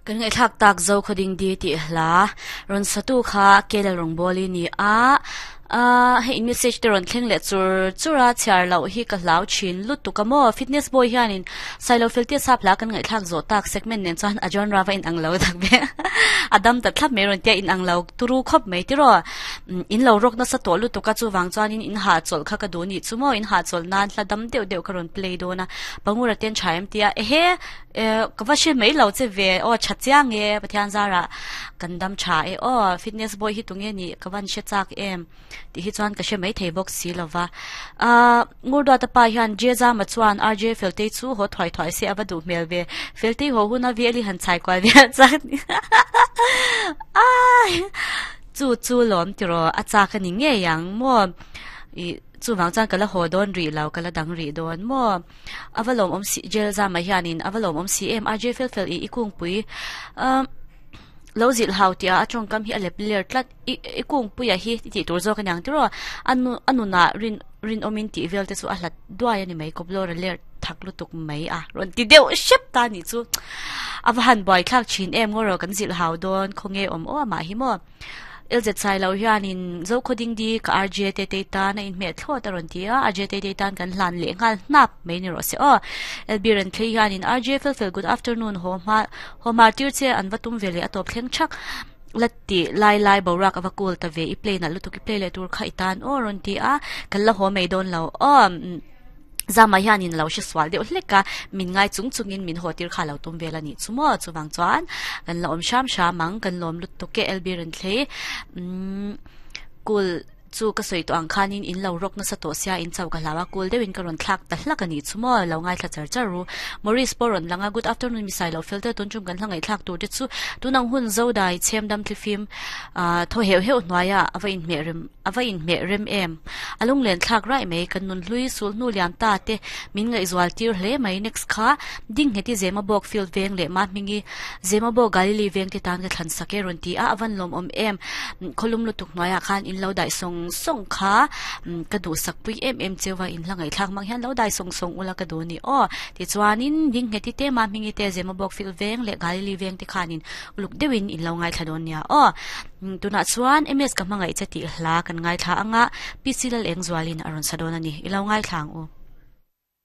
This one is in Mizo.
Kan ngaihthlak tak zo khawding di tih hla rawn satu kha Kela rawngbawli ni a, ahh hei in message te rawn thleng leh chur chur a, chhiar loh hi ka hlau thin lutuk a maw? Fitness boy hianin Sailo Feltia sap hla kan ngaihthlak zawh tak segment nen chuan a genre va inang lo tak ve a dam ta thlap mai rawn tia inang lo turu khawp mai tiraw? In lo rawk nasa tawh lutuk a chuvang chuanin in hahchawlh kha ka duh nih chu maw? In hahchawlh nan hla dam deuh deuh ka rawn play dawn a, Pangura ten tha em tia ehe! Eh ka va hre mai lo che ve aw tha chiang e Pathian zarah kan dam tha e aw fitness boy hi tunge nih ka van hre chak em tih hi chuan ka hre mai thei bawk si lo va ah Ngurduata pa hian Jezama chuan RJ Feltei chu haw thuai thuai se a va duh hmel ve Feltei haw huna vel hi han chhai kual vel chak ai chu chu lawm tiraw a chak a ni ngei ang maw ih chuvang chuan ka la haw dawn rih lo ka la dang rih dawn maw. A va lawmawm si jail zama hianin a va lawmawm si em RJ fel fel i i kungpui umm lo zilh hau tih ah a tawngkam hi a lep ler tlat i i kungpuia hi i tih tur zawk a niang tiraw a nu a nunah rin rinawmin tih vel te chu a hlat duai a ni mai kawp lawr a ler thak lutuk mai a rawn ti deuh hrep ta a nih chu a va han buaithlak thin em ngaw rawh kan zilh hau dawn khawnge awm aw amah hi maw. LZ Sailo hianin Zokhaw Dingdi ka RJ Tetei tan a inhmeh thlawt a rawn ti a, RJ Tetei tan kan hlan leh nghal hnap mai ni rawh se aw. LB Renthlei hianin RJ Felfel good afternoon haw hma haw hmar tir che an va tum ve leh a tawp thleng thak la ti lai lai boruak a va cool ta ve i play nalh lutuk i play leh tur kha i tan aw a rawn ti a, kan la haw mai dawn lo aw. Zama hianin lo hre sual deuh hlek a, min ngai chung chungin min haw tir kha lo tum vel a nih chu maw? Chuvang chuan kan la awm hram hram ang, kan lawm lutuk e LB Renthlei. Umm kul chu ka sawi tawh ang khanin in lo rawk nasa tawh sia in chau ka hlau a, kul deuhin ka rawn thlak ta hlak a nih chu maw? Lo ngaithla char char ru. Maurice pawh rawn lang a, Good afternoon mi Sailo fel te tun tum kan hla ngaihthlak tur te chu tunang hun Zodai chhem dam thlifim ah thaw heuh heuh hnuaiah a va inhmeh rem A va inhmeh rem em? A lunglen thlak raih mai, kan nun hlui sul hnu liam ta te min ngaihzual tir hle mai. Next kha ding nghet i Zemabawk field veng leh mah hming i Zemabawk Galilee veng te tan ka thlan sak e rawn ti a, a van lawmawm em? Khawlum lutuk hnuaiah khan in lo daih sawng sawng kha ka duhsak pui em em cheu va, in hla ngaihthlak hmang hian lo daih sawng sawng ula ka duh a ni aw. Tichuanin ding nghet i te mah hming i te Zemabawk field veng leh Galilee veng te khanin uluk deuhin in lo ngaithla dawn nia aw. Tunah chuan MS ka hmangaih che tih hla kan ngaithla anga PC Lalengzualin a rawn sa dawn a ni. I lo ngaithla ang u.